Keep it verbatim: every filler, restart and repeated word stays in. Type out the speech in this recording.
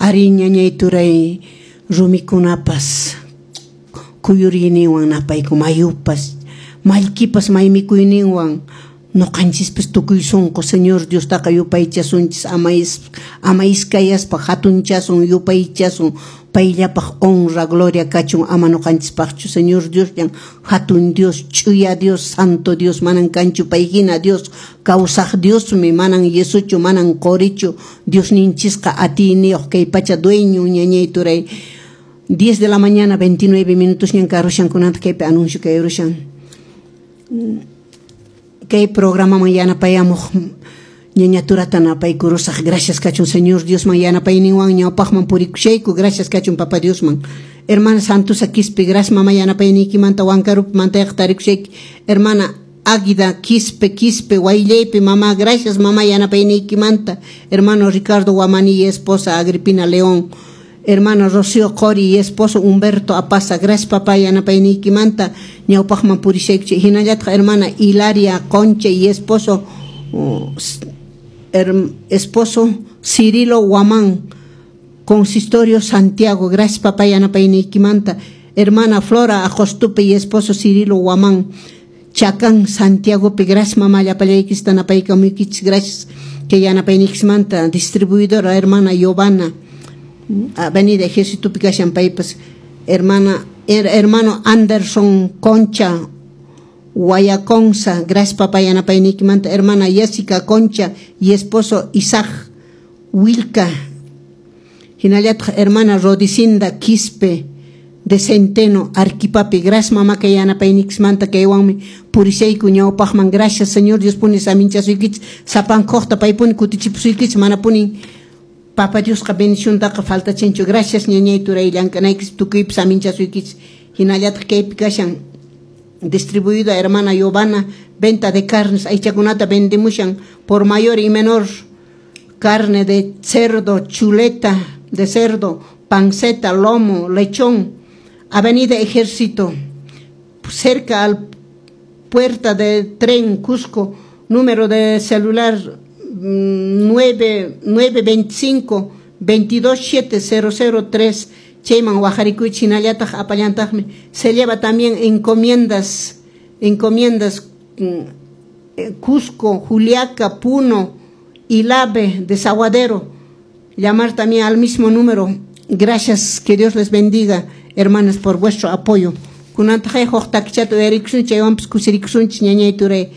Ari ñañay turay rumikunapas kuyuriyninwan napayku mayupas mallkipas maymikuyninwan ñuqanchispas tukuy sunqu Señor Diostaqa yupaychasunchis ama ama iskayaspa hatunchasun yupaychasun payllapaq honra gloria kachun ama ñuqanchispaqchu Señor Diosllan hatun Dios ch'uya Dios santo Dios manan kanchu payhina Dios kawsaq Diosmi manan yesuchu manan qurichu Diosninchisqa atiyniyuq kay pacha dueño ñañay turay. diez de la mañana veintinueve minutos ñan karushan kunanta kaypi anuncio kayrushan kay programaman yanapayamuq ñaña turata napaykurusaq. Gracias kachun Señor Diosman yanapayninwan ñawpaqman purikushayku. Gracias kachun Papa Diosman. Hermana Santusa Quispe, gracias mama yanapayniykimanta Huancarupi mantayqa tarikushayki. Hermana Águida Quispe Quispe Guayllaypi mamá, gracias mamá yanapayniykimanta. Hermano Ricardo Guamani y esposa Agripina León. Hermano Rocío Cori y esposo Humberto Apaza, gracias papá yanapayniykimanta ñawpaqman purishaykuchi. Hinallataq hermana Hilaria Concha y esposo uh, her, esposo Cirilo Guamán, Consistorio Santiago, gracias papá yanapayniykimanta. Hermana Flora Ajostupe y esposo Cirilo Guamán, Chacán Santiago, gracias mamá llapallaykista napaykamuykichis, gracias que yanapayniykismanta. Distribuidora hermana Giovanna, Avenida Ejército kashan paypas. Hermana her, hermano Anderson Concha Guayaconza, gracias papá yanapayniykimanta. Hermana Jessica Concha y esposo Isaac Wilka. Hinallataq hermana Rodicinda Quispe de Centeno Arquipapi, gracias mamá kay yanapayniykismanta kaywanmi purishayku ñawpaqman. Gracias Señor Dios puni saminchasuykichis sapankuqta paypuni kutichipusuykichis manapuni Papa Diosqa bendiciontaqa faltachinchu. Gracias ñañay turay llank'anaykis tukuypi saminchasuykichis. Hinallataq kaypi kashan distribuida hermana Giovanna, venta de carnes, aychakunata vendemushan por mayor y menor, carne de cerdo, chuleta de cerdo, panceta, lomo, lechón. Avenida Ejército, cerca al puerta de tren Cusco, número de celular nueve nueve veinticinco veintidós siete cero cero tres. Chayman waqharikuychis hinallataq apallantaqmi. Se lleva también encomiendas, encomiendas Cusco, Juliaca, Puno, Ilave, Desaguadero. Llamar también al mismo número. Gracias, que Dios les bendiga, hermanas, por vuestro apoyo. Kunantaqay huk takichata uyarikusun, chaywanpas kusirikusunchis ñañay turay.